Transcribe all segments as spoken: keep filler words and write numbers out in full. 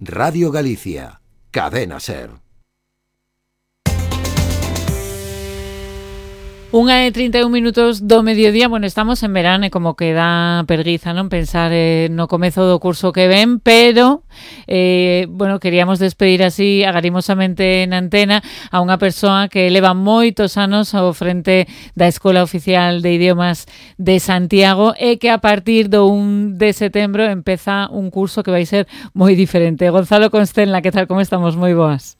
Radio Galicia, Cadena Ser. Unha e trinta e un minutos do mediodía. Bueno, estamos en verano e como que dá perguiza, non, pensar eh, no comezo do curso que ven, pero eh, bueno, queríamos despedir así agarimosamente na antena a unha persoa que leva moitos anos ao frente da Escola Oficial de Idiomas de Santiago e que a partir do un de setembro empeza un curso que vai ser moi diferente. Gonzalo Constenla, que tal, como estamos? Moi boas.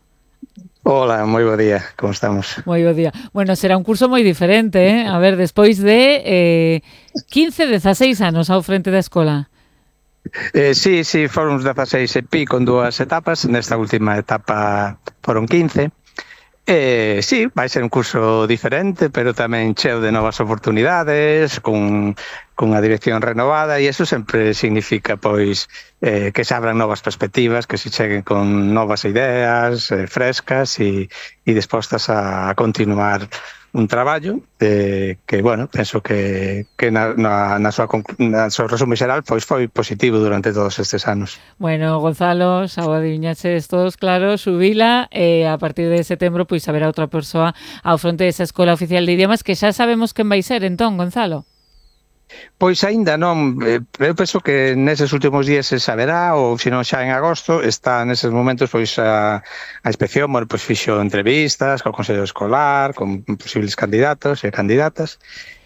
Hola, moi bo día, como estamos? Moi bo día. Bueno, será un curso moi diferente, eh? A ver, despois de eh, quince, dezaseis anos ao frente da escola. Eh, sí, sí, foron uns dezaseis e pico con dúas etapas, nesta última etapa foron quince. Eh, sí, vai ser un curso diferente, pero tamén cheo de novas oportunidades, con, con a dirección renovada, e iso sempre significa, pois, eh, que se abran novas perspectivas, que se cheguen con novas ideas eh, frescas e, e dispostas a continuar un traballo eh, que, bueno, penso que, que na, na, na, súa, na súa resumo xeral pois foi positivo durante todos estes anos. Bueno, Gonzalo, xa o adiviñaches todos, claro, subila e a partir de setembro pois haberá outra persoa ao fronte desa Escola Oficial de Idiomas que xa sabemos quen vai ser, entón, Gonzalo. Pois aínda non, eu penso que neses últimos días se saberá, ou se non xa en agosto, está neses momentos pois a, a inspección, bueno, pois fixo entrevistas co Consello Escolar, con posibles candidatos e candidatas,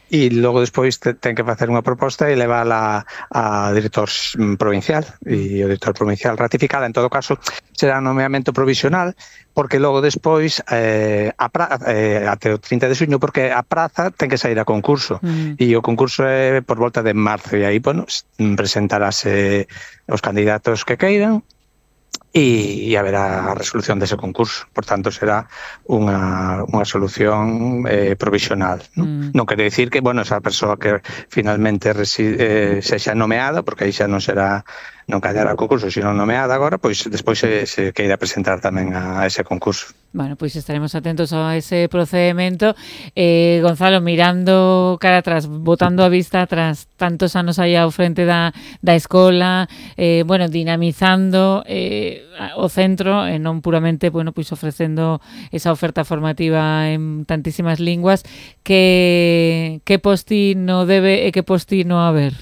e logo despois te, ten que facer unha proposta e levala a director provincial, e o director provincial ratificada. En todo caso, será un nomeamento provisional, porque logo despois eh, a pra, eh, até o trinta de xuño, porque a praza ten que sair a concurso, mm. e o concurso é por volta de marzo, e aí, bueno, presentarase os candidatos que queiran, e, e haberá a resolución dese concurso. Por tanto, será unha, unha solución eh, provisional. Non? Mm. non quere dicir que, bueno, esa persoa que finalmente reside, eh, sexa nomeada, porque aí xa non será, non callará o concurso, sino nomeada agora, pois despois se, se queira presentar tamén a ese concurso. Bueno, pois estaremos atentos a ese procedimento. Eh, Gonzalo, mirando cara atrás, botando a vista atrás, tantos anos aí ao frente da, da escola, eh, bueno, dinamizando eh, o centro, e non puramente, bueno, pois ofrecendo esa oferta formativa en tantísimas linguas, que, que postino debe e que postino haber?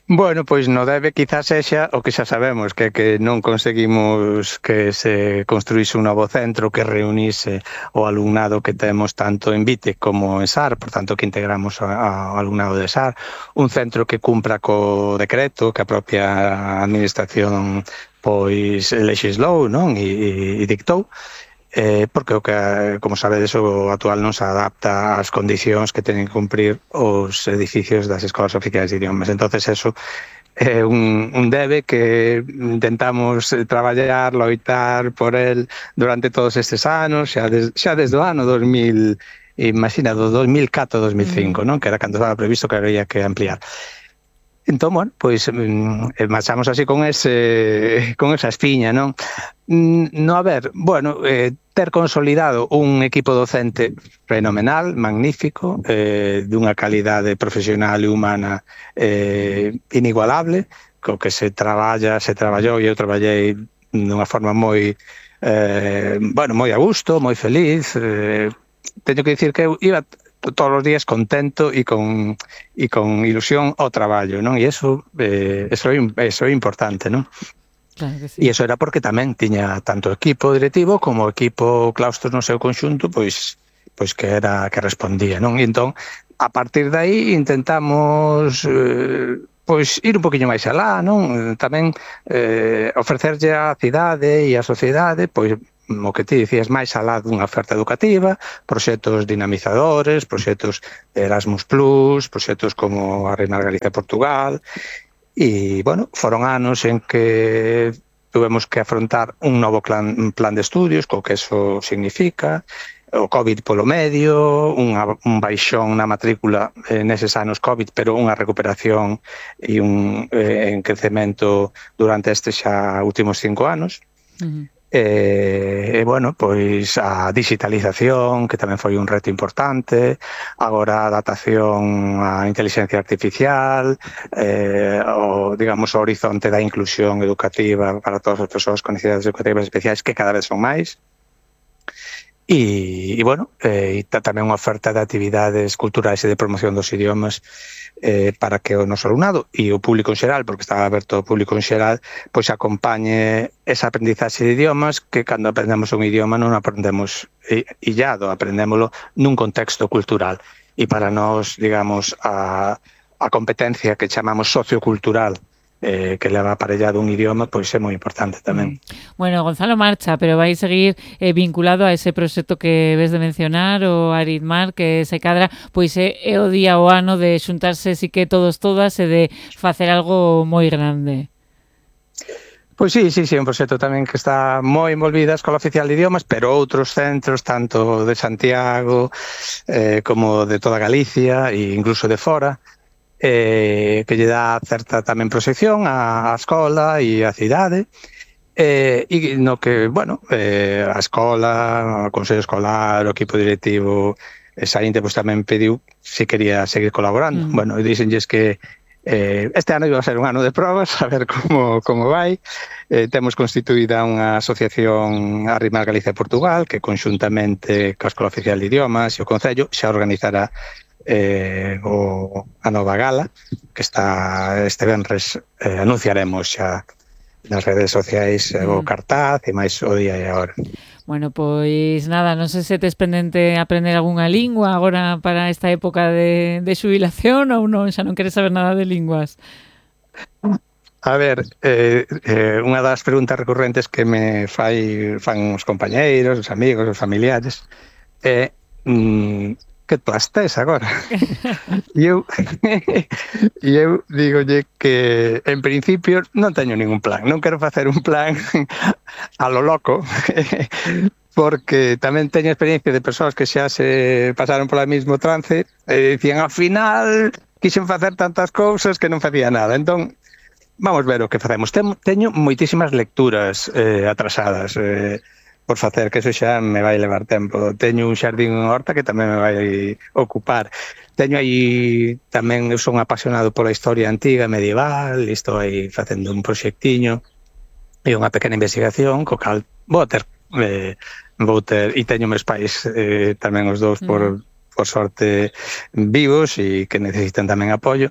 Bueno, pois no debe quizás sexa o que xa sabemos, que que non conseguimos que se construíse un novo centro que reunise o alumnado que temos tanto en Vite como en S A R, por tanto que integramos ao alumnado de S A R, un centro que cumpra co decreto que a propia administración pois lexislou, non? E, e dictou. Eh, porque o que, como sabedes, o actual non se adapta ás condicións que teñen que cumprir os edificios das escolas oficiais de idiomas. Entonces eso é un, un debe que intentamos traballar, loitar por el durante todos estes anos, xa, des, xa desde o ano dos mil, imagina, do dos mil catro a dos mil cinco, mm. non? Que era cando estaba previsto que había que ampliar. Entón, bueno, pois eh, marchamos así con ese con esa espiña, non? No, a ver, bueno, eh, ter consolidado un equipo docente fenomenal, magnífico, eh, dunha calidade profesional e humana eh, inigualable, co que se traballa, se traballou e eu traballei dunha forma moi, eh, bueno, moi a gusto, moi feliz. Eh, teño que dicir que eu iba todos os días contento e con e con ilusión ao traballo, non? E eso eh, eso é eso é importante, non? Claro que sí. E iso era porque tamén tiña tanto equipo directivo como equipo claustro no seu conxunto, pois pois que era que respondía, non? E entón, a partir de aí intentamos eh, pois ir un poquinho máis alá, non? Tamén eh, ofrecerlle á cidade e á sociedade, pois o que ti dicías, máis alá dunha oferta educativa, proxectos dinamizadores, proxectos de Erasmus plus, proxectos como a Reina Galicia Portugal, e, bueno, foron anos en que tuvemos que afrontar un novo plan, un plan de estudios, co que eso significa, o COVID polo medio, unha, un baixón na matrícula eh, neses anos COVID, pero unha recuperación e un eh, en crecemento durante estes xa últimos cinco anos. Uh-huh. E, e, bueno, pois a digitalización, que tamén foi un reto importante, agora a adaptación á inteligencia artificial, eh, o digamos, o horizonte da inclusión educativa para todas as persoas con necesidades educativas especiais, que cada vez son máis. E, e bueno, eh, e tamén unha oferta de actividades culturais e de promoción dos idiomas eh, para que o noso alumnado e o público en xeral, porque está aberto ao público en xeral, pois acompañe esa aprendizaxe de idiomas, que cando aprendemos un idioma non aprendemos illado, aprendémolo nun contexto cultural. E para nós, digamos, a, a competencia que chamamos sociocultural, Eh, que leva aparellado un idioma, pois é moi importante tamén. Bueno, Gonzalo marcha, pero vai seguir eh, vinculado a ese proxecto que ves de mencionar, o Aritmar, que se cadra, pois é, é o día o ano de xuntarse si que todos todas e de facer algo moi grande. Pois sí, sí, sí, un proxecto tamén que está moi envolvida a Escola Oficial de Idiomas, pero outros centros, tanto de Santiago eh, como de toda Galicia e incluso de fora, Eh, que lle dá certa tamén proxección á, á escola e á cidade, eh, e no que, bueno, eh, a escola, o Consello Escolar, o equipo directivo e saínte, pois tamén pediu se quería seguir colaborando. Mm. Bueno, e díxenlles que eh, este ano iba a ser un ano de probas, a ver como, como vai. Eh, temos constituída unha asociación Aritmar Galicia e Portugal, que conxuntamente coa Escola Oficial de Idiomas e o Concello xa organizará Eh, o, a nova gala, que está este venres, eh, anunciaremos xa nas redes sociais mm. o cartaz e máis o día e a hora. Bueno, pois nada, non sei se tes pendente aprender algunha lingua agora para esta época de, de xubilación ou non, xa non queres saber nada de linguas. A ver, eh, eh, unha das preguntas recurrentes que me fai fan os compañeiros, os amigos, os familiares é eh, mm, que plastés agora. E eu, e eu digolle que, en principio, non teño ningún plan. Non quero facer un plan a lo loco, porque tamén teño experiencia de persoas que xa se pasaron polo mesmo trance e dicían, ao final, quixen facer tantas cousas que non facía nada. Entón, vamos ver o que facemos. Teño moitísimas lecturas eh, atrasadas, eh, por facer, que eso xa me vai levar tempo. Teño un xardín en horta que tamén me vai ocupar. Teño aí tamén, eu son apasionado pola historia antiga, medieval, e estou aí facendo un proxectiño e unha pequena investigación, co cal vou ter, eh, vou ter, e teño meus pais eh, tamén os dous por, por sorte vivos e que necesitan tamén apoio.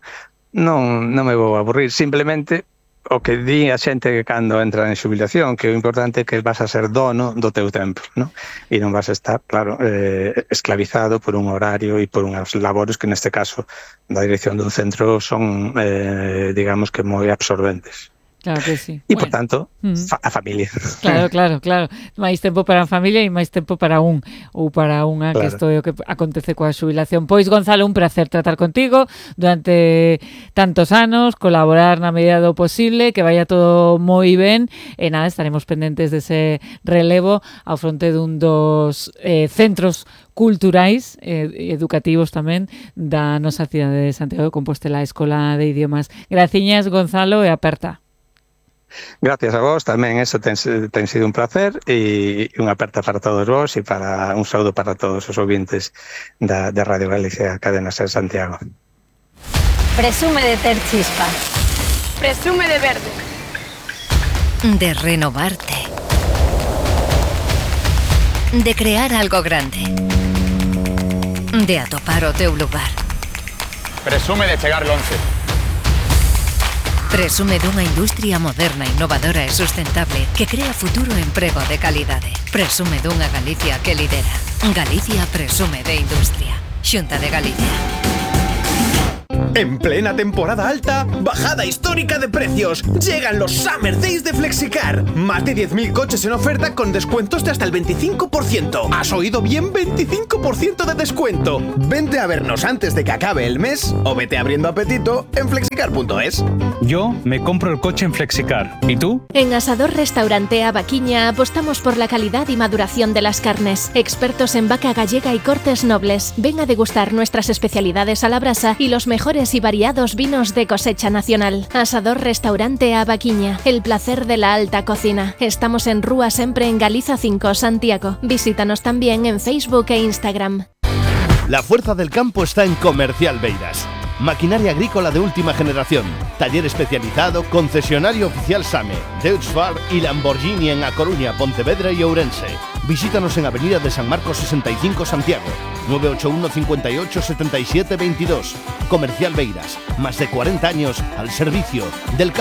Non, non me vou aburrir, simplemente o que di a xente que cando entra en xubilación, que o importante é que vas a ser dono do teu tempo, ¿no? E non vas a estar, claro, eh, esclavizado por un horario e por unhas labores que neste caso da dirección dun centro son, eh, digamos que moi absorbentes. Claro que sí. E, bueno, por tanto, fa a familia. Claro, claro, claro. Máis tempo para a familia e máis tempo para un ou para unha, claro, que isto é o que acontece coa xubilación. Pois, Gonzalo, un placer tratar contigo durante tantos anos, colaborar na medida do posible, que vaya todo moi ben, e nada, estaremos pendentes dese relevo ao fronte dun dos eh, centros culturais e eh, educativos tamén da nosa cidade de Santiago de Compostela, a Escola de Idiomas. Graciñas, Gonzalo, e aperta. Gracias a vos, tamén eso ten, ten sido un placer e unha aperta para todos vos e para un saúdo para todos os ouvintes da, de Radio Galicia, Cadena Ser Santiago. Presume de ter chispa. Presume de verde. De renovarte. De crear algo grande. De atopar o teu lugar. Presume de chegar longe. Presume dunha industria moderna, innovadora e sustentable que crea futuro e emprego de calidade. Presume dunha Galicia que lidera. Galicia presume de industria. Xunta de Galicia. En plena temporada alta, bajada histórica de precios. Llegan los Summer Days de Flexicar. Más de diez mil coches en oferta con descuentos de hasta el veinticinco por ciento. ¿Has oído bien? veinticinco por ciento de descuento. Vente a vernos antes de que acabe el mes o vete abriendo apetito en flexicar punto es. Yo me compro el coche en Flexicar. ¿Y tú? En Asador Restaurante Avaquiña apostamos por la calidad y maduración de las carnes. Expertos en vaca gallega y cortes nobles. Ven a degustar nuestras especialidades a la brasa y los mejores y variados vinos de cosecha nacional. Asador Restaurante Avaquiña, el placer de la alta cocina. Estamos en Rúa Sempre en Galiza cinco, Santiago. Visítanos también en Facebook e Instagram. La fuerza del campo está en Comercial Beiras. Maquinaria agrícola de última generación. Taller especializado, concesionario oficial SAME, Deutz-Fahr y Lamborghini en A Coruña, Pontevedra y Ourense. Visítanos en Avenida de San Marcos sesenta y cinco, Santiago. nueve ocho uno, cinco ocho, siete siete dos dos. Comercial Beiras. Más de cuarenta años al servicio del campo.